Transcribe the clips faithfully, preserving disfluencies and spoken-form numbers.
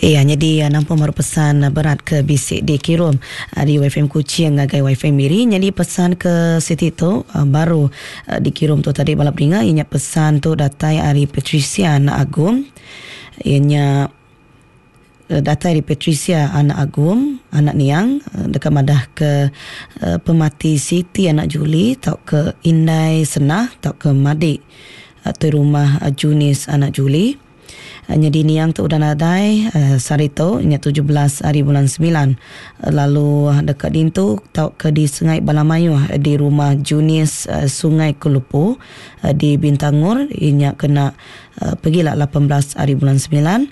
Iya, jadi nampung baru pesan berat ke bisi dikirum di W F M Kuching ngagai W F M Miri. Jadi pesan ke siti tu baru dikirum tu tadi balap ringa. Ianya pesan tu datai ari Patricia Anak Agum. Ianya datai dari Patricia Anak Agum, anak Niang, dekat madah ke pemati Siti Anak Juli tau ke Indai Senah tau ke Madik tu rumah Junis Anak Juli. Jadi Niang tu udah nadai sehari tu nya tujuh belas hari bulan sembilan, lalu dekat dintu tau ke di Sungai Balamayuh di rumah Junis Sungai Kelupu di Bintangor inya kena pergilah lapan belas hari bulan sembilan,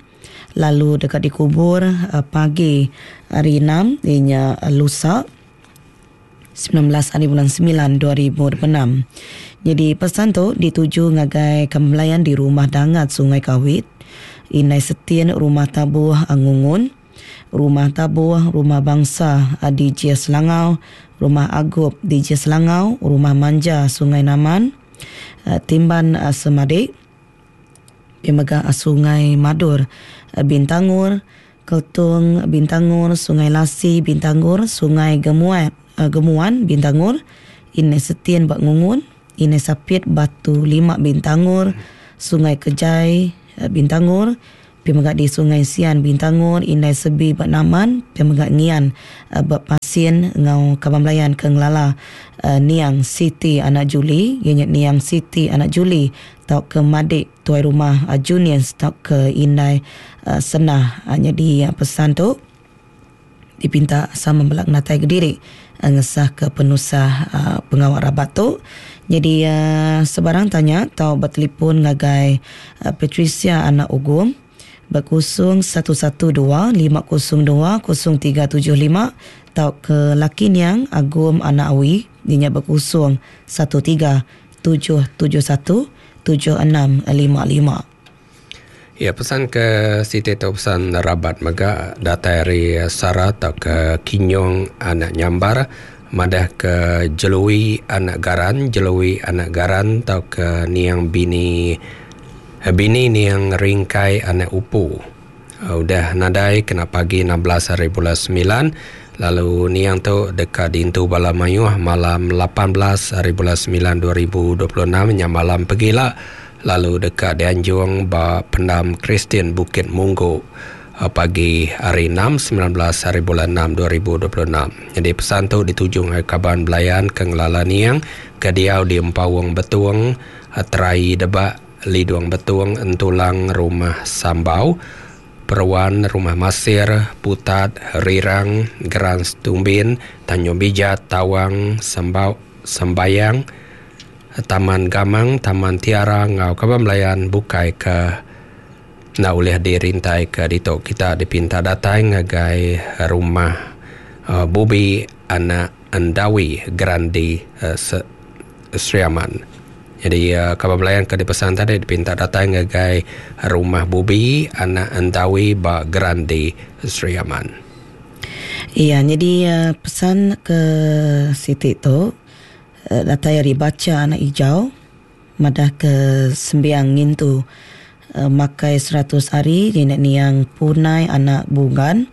lalu dekat dikubur pagi hari enam inya lusa sembilan belas hari bulan sembilan dua ribu dua puluh enam. Jadi pesan tu dituju ngagai kembelayan di rumah Dangat Sungai Kawit, Inai Setin Rumah Tabuh Angungun, Rumah Tabuh Rumah Bangsa di J Selangau, Rumah Agup di J Selangau, Rumah Manja Sungai Naman, Timban Semadik, Pemegah Sungai Madur Bintangor, Keltung Bintangor, Sungai Lasi Bintangor, Sungai Gemuan, Gemuan Bintangor, Inai Setin Bak Ngungun, Inai Sapit Batu Lima Bintangor, Sungai Kejai Bintangor, Pemegah di Sungai Sian Bintangor, Inai Sebi Bak Naman, Pemegah Ngian Bak Pasien ngau Kabang Belayan ke Ngelala Niang Siti Anak Juli, ianya Niang Siti Anak Juli tau ke Madik tuai rumah Junius tau ke Indai Senah. Jadi pesan tu dipinta sama belak natai kediri ngesah ke penusah uh, pengawal rabat tu. Jadi uh, sebarang tanya atau bertelefon ngagai uh, Patricia Anak Ugum berkosong satu satu dua lima kosong dua kosong tiga tujuh lima atau ke laki Niang Agum Anak Awi dinya berkosong satu tiga tujuh tujuh satu tujuh enam lima lima. Ya, pesan ke Siti tu pesan rabat mega datai dari Sara atau ke Kinyong Anak Nyambar, madah ke Jelui Anak Garan, Jelui Anak Garan atau ke Niang Bini Bini Niang Ringkai Anak Upu. Udah nadai kena pagi enam belas hari bulan sembilan, lalu Niang tu dekat dintu bala mayuh malam lapan belas hari bulan sembilan dua ribu dua puluh enam nya malam pegila, lalu dekat dianjung ba pendam Kristian Bukit Munggu pagi hari enam sembilan belas hari bulan enam dua ribu dua puluh enam. Jadi pesan tu dituju ngagai kaban belayan ke ngelala Niang ke diau di Empawang Betung, Terai Debak, Lidung Betung, Entulang Rumah Sambau, Peruan Rumah Masir, Putat, Rirang, Geran Stumbin, Tanjung Bijat, Tawang, Sembau, Sembayang, Taman Gamang, Taman Tiara, ngau kaban belayan bukai ke nak boleh dirintai ke ditok. Kita dipinta datang ngagai rumah uh, Bubi Anak Andawi Grandi uh, Sri Aman. Jadi uh, kaban belayan ke dipesan tadi dipinta datang ngagai rumah Bubi Anak Andawi ba Grandi Sri Aman. Iya, jadi uh, pesan ke Siti tu datai ari baca anak hijau madah ke sembiang ngintu uh, makai seratus hari nenek niang punai anak bungan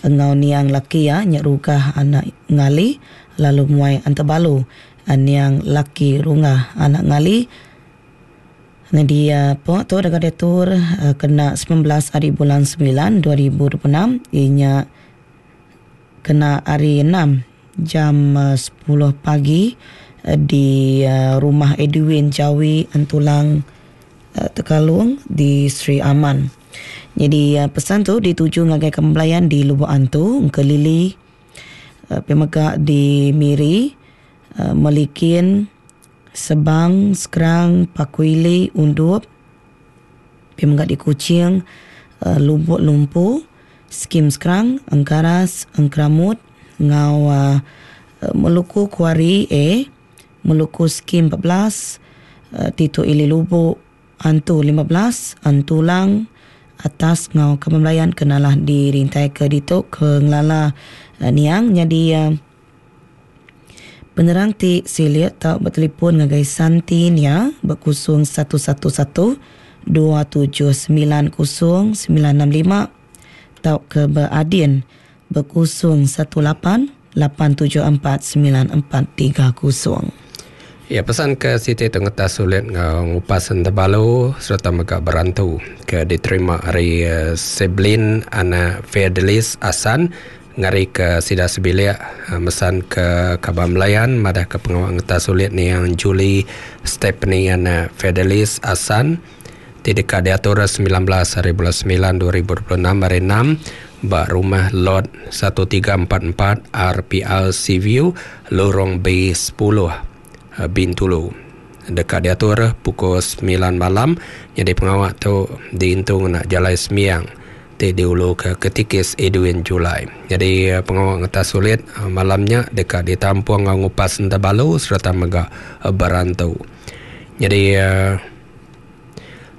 engau niang laki ya nyak rugah anak ngali lalu muai antebalu niang laki rungah anak ngali. Jadi uh, pok tu dekat detur uh, kena sembilan belas hari bulan sembilan dua ribu dua puluh enam inya kena hari enam jam sepuluh pagi di rumah Edwin Jawi Entulang Tekalung di Sri Aman. Jadi pesan tu dituju ngagai kembelayan di Lubuk Antu, Engkelili, Pemegak di Miri, Melikin, Sebang, Sekerang, Pakuili, Undup, Pemegak di Kuching, Lubuk Lumpu, Skim Sekerang, Engkaras, Engkeramut, ngau uh, Meluku Kuari A, Meluku Skim empat belas, uh, Tito Ili Lubuk Antu lima belas, Antulang atas ngau kemelayan kenalah dirintai ke ditok ke ngelala uh, niang. Jadi uh, penerang ti silit tak bertelefon ngagai Santi nia berkusung satu satu satu dua tujuh sembilan kosong sembilan enam lima tauka beadin ba kosong satu lapan lapan tujuh empat semilan empat tiga kosong. Ya, pesan ke Siti tu ngetas sulit ngau ngupas entabalu serta mega berantu ke diterima hari uh, Seblin anak Fedelis Asan ngari ke sida sebilik uh, mesan ke Kaban Melayan madah ke pengawal ngetas sulit ni yang Julie Stephanie anak Fedelis Asan tidak diatur sembilan belas hari bulan sembilan dua ribu dua puluh enam hari enam ba rumah lot satu tiga empat empat R P L Seaview Lorong B sepuluh Bintulu. Dekat diatur pukul sembilan malam. Jadi pengawal tu diintung nak jalai semiang ti diulu ke ketikis Edwin Julai. Jadi pengawal ngetas sulit malamnya dekat ditampung ngau ngupas entabalu serta mega berantu. Jadi uh,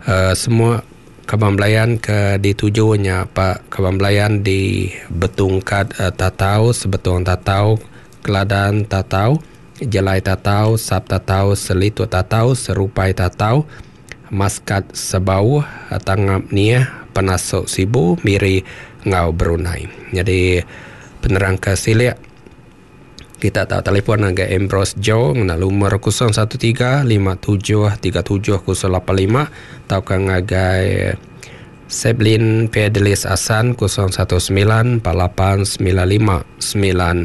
uh, semua Kaban Belayan ke ditujunya Pak Kaban Belayan di Betungkat uh, Tatau, Sebetung Tatau, Keladan Tatau, Jelai Tatau, Sap Tatau, Selitut Tatau, Serupai Tatau, Maskat Sebauh, Tangap Niah, Penasuk Sibu, Miri, Ngau Brunei. Jadi penerang ke silik kita tak telefon agak Ambrose Joe ngena lumur kosong satu tiga lima tujuh tiga tujuh kosong lapan lima atau ke ngagai Seblin Fedelis Asan kosong satu sembilan empat lapan sembilan lima sembilan